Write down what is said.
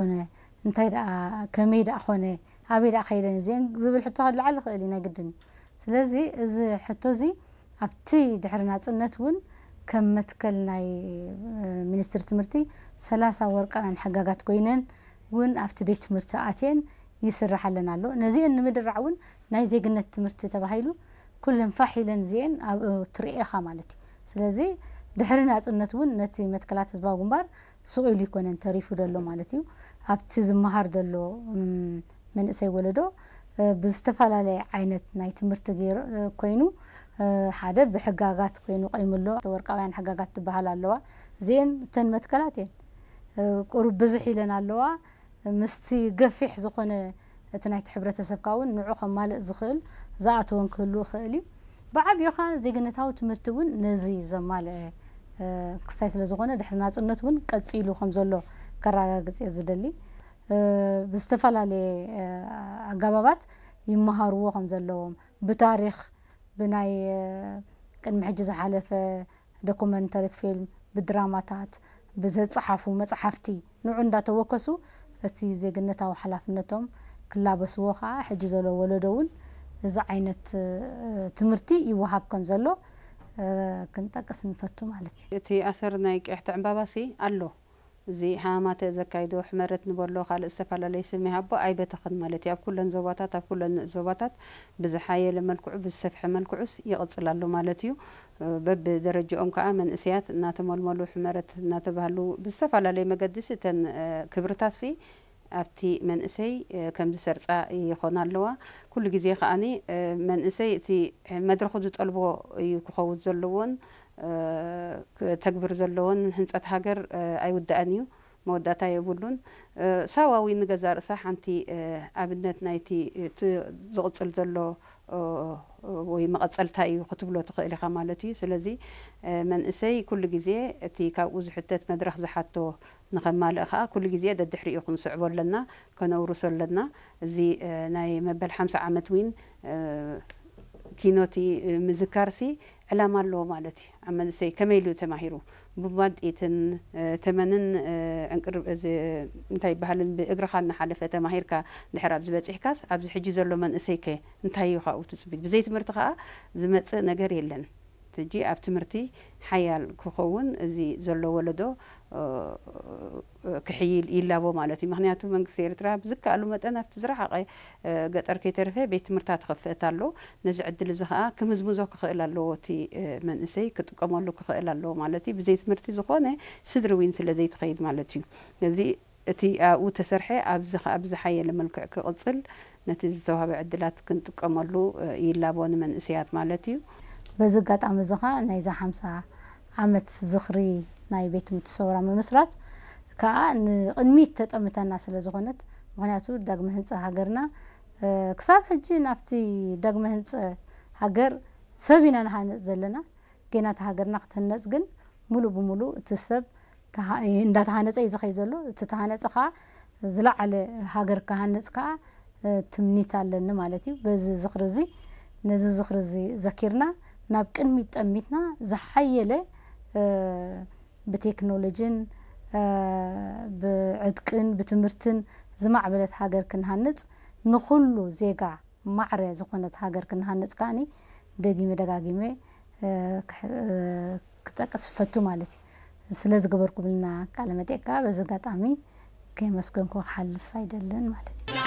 ኮነ፣ እንታይ ደኣ፣ ከመይ ደኣ ኮነ፣ ኣበይ ደኣ ከይደን እዚአን ዝብል ሕቶ ክልዓል ይኽእል እዩ፣ ናይ ግድን እዩ። ስለዚ እዚ ሕቶ እዚ ኣብቲ ድሕሪ ናጽነት እውን ከም መትከል ናይ፣ እ፣ ሚኒስትሪ ትምህርቲ ሰላሳ ወርቃውያን ሕጋጋት ኮይነን እውን ኣብቲ ቤት ትምህርቲ ኣትየን ይስራሓለን ኣሎ። ነዚአን ንምድራዕ እውን ናይ ዜግነት ትምህርቲ ተባሂሉ ኩለን ፋሕ ኢለን እዚአን ኣብኡ ትርእኻ ማለት እዩ። ስለዚ ድሕሪ ናጽነት እውን ነቲ መትከላት ህዝባዊ ግንባር ስቕ ኢሉ ይኮነን ተሪፉ ዘሎ ማለት እዩ። ኣብቲ ዝመሃር ዘሎ፣ እም፣ መንእሰይ ወለዶ፣ እ፣ ብዝተፈላለየ ዓይነት ናይ ትምህርቲ ገይሩ፣ እ፣ ኮይኑ፣ እ፣ ሓደ ብሕጋጋት ኮይኑ ቆይሙ ኣሎ። ወርቃውያን ሕጋጋት ትበሃል ኣለዋ። እዚአን እተን መትከላት እየን። እ፣ ቁሩብ ብዝሕ ኢለን ኣለዋ። ምስቲ ገፊሕ ዝኾነ እቲ ናይቲ ሕብረተሰብካ እውን ንዑ ከማልእ ዝኽእል ዝኣተወን ክህሉ ይኽእል እዩ። ብዓብዩኻ ዜግነታዊ ትምህርቲ እውን ነዚ ዘማልአ፣ እ፣ ክስታይ ስለ ዝኾነ ድሕሪ ናጽነት እውን ቀጺሉ ከም ዘሎ ከረጋግጽ እየ ዝደሊ። እ፣ ብዝተፈላለየ፣ እ፣ ኣገባባት ይመሃርዎ ከም ዘለዎም፣ ብታሪኽ፣ ብናይ፣ እ፣ ቅድሚ ሕጂ ዝሓለፈ ዶኩመንተሪ ፊልም፣ ብድራማታት፣ ብዝጸሓፉ መጽሓፍቲ ንዑ እንዳተወከሱ እቲ ዜግነታዊ ሓላፍነቶም ክላበስዎ ከኣ ሕጂ ዘሎ ወለዶ እውን እዚ ዓይነት፣ እ፣ ትምህርቲ ይወሃብ ከም ዘሎ፣ እ፣ ክንጠቅስ ንፈቱ ማለት እዩ። እቲ ኣሰር ናይ ቅያሕቲ ዕምባባሲ ኣሎ። እዚ ሃማተ ዘካይዶ ሕመረት ንበሎ ካልእ ዝተፈላለየ ስም ይሃቦ ኣይበተኽን ማለት እዩ። ኣብ ኩለን ዞባታት፣ ኣብ ኩለን ንኡስ ዞባታት ብዝሓየለ መልክዑ፣ ብዝሰፍሐ መልክዑስ ይቕጽል ኣሎ ማለት እዩ። በብደረጃኦም ከኣ መንእሰያት እናተመልመሉ፣ ሕመረት እናተባህሉ፣ ብዝተፈላለየ መገዲስ እተን፣ እ፣ ክብርታትሲ ኣብቲ መንእሰይ፣ እ፣ ከም ዝሰርጻ ይኾና ኣለዋ። ኩሉ ግዜ ከኣኒ፣ እ፣ መንእሰይ እቲ መድረኹ ዝጠልቦ እዩ ክኸውን ዘለዎን፣ እ፣ ክተግብር ዘለዎን። ህንጸት ሃገር፣ እ፣ ኣይውዳእን እዩ፣ መወዳእታ የብሉን። እ፣ ሳዋ እውን ንገዛእ ርእሳ ሓንቲ፣ እ፣ ኣብነት ናይቲ እቲ ዝቕጽል ዘሎ፣ እ፣ ወይ መቐጸልታ እዩ ክትብሎ ትኽእል ኢኻ ማለት እዩ። ስለዚ፣ እ፣ መንእሰይ ኩሉ ግዜ እቲ ካብኡ ዝሕተት መድረኽ ዝሓቶ ንኸማልእ ኸኣ ኩሉ ግዜ ደድሕሪኡ ክንስዕቦ ኣለና፣ ከነውርሶ ኣለና። እዚ፣ እ፣ ናይ መበል ሓምሳ ዓመት ዊን፣ እ፣ ኪኖቲ፣ እ፣ ምዝካርሲ ዕላማ ኣለዎ ማለት እዩ። ኣብ መንእሰይ ከመይ ኢሉ ተማሂሩ? ብማንጢትን፣ እ፣ ተመንን፣ እ፣ ዕንቅር-፣ እዚ እንታይ ይበሃልን ብእግርኻ እናሓለፈ ተማሂርካ ድሕር ኣብዚ በጺሕካስ፣ ኣብዚ ሕጂ ዘሎ መንእሰይ ከ እንታይ እዩ ካብኡ ትጽቢት? ብዘይ ትምህርቲ ኸኣ ዝመጽእ ነገር የለን። ሕጂ ኣብ ትምህርቲ ሓያል ክኸውን እዚ ዘሎ ወለዶ፣ እ፣ ክሕይል ይላቦ ማለት እዩ። ምኽንያቱ መንግስቲ ኤርትራ ብዝከኣሉ መጠን ኣብቲ ዝረሓቐ፣ እ፣ ገጠር ከይተረፈ ቤት ትምህርታት ክኸፍት ኣሎ። ነዚ ዕድል እዚ ኸኣ ክምዝምዞ ክኽእል ኣለዎ። እቲ፣ እ፣ መንእሰይ ክጥቀመሉ ክኽእል ኣለዎ ማለት እዩ። ብዘይ ትምህርቲ ዝኾነ ስድሪ ዊን ስለ ዘይትኸይድ ማለት እዩ። ነዚ እቲ ኣብኡ ተሰርሐ ኣብዚ ኸኣ ብዝሓየለ መልክዕ ክቕጽል ነቲ ዝተዋህበ ዕድላት ክንጥቀመሉ፣ እ፣ ይላቦ ንመንእሰያት ማለት እዩ። በዚ ኣጋጣሚ እዚ ኸኣ ናይዛ ሓምሳ ዓመት ዝኽሪ ናይ ቤት ትምህርቲ ሰውራ ምምስራት ከኣ ንቕድሚት ተጠምተና ስለ ዝኾነት፣ ምኽንያቱ ዳግመ ህንጻ ሃገርና፣ እ፣ ክሳብ ሕጂ ናብቲ ዳግመ ህንጸ ሃገር ሰብ ኢና ንሃንጽ ዘለና። ጌና እታ ሃገርና ክትህነጽ ግን ሙሉእ ብሙሉእ እቲ ሰብ ተሃ-፣ እንዳተሃነጸ እዩ ዝኸይ ዘሎ። እቲ ተሃነጸ ኸኣ ዝለዓለ ሃገር ክሃንጽ ከኣ፣ እ፣ ትምኒት ኣለኒ ማለት እዩ። በዚ ዝኽሪ እዚ፣ ነዚ ዝኽሪ እዚ ዘኪርና ናብ ቅድሚት ጠሚትና ዝሓየለ፣ እ፣ ብቴክኖሎጂን፣ እ፣ ብዕጥቅን ብትምህርትን ዝማዕበለት ሃገር ክንሃንጽ፣ ንኹሉ ዜጋ ማዕረ ዝኾነት ሃገር ክንሃንጽ ከኣኒ ደጊመ ደጋጊመ፣ እ፣ ክሕ-፣ እ፣ ክጠቅስ እፈቱ ማለት እዩ። ስለ ዝገበርኩምልና ቃለ መጠይቅ ከኣ በዚ ኣጋጣሚ ከየመስገንኩ ክሓልፍ ኣይደልን ማለት እዩ።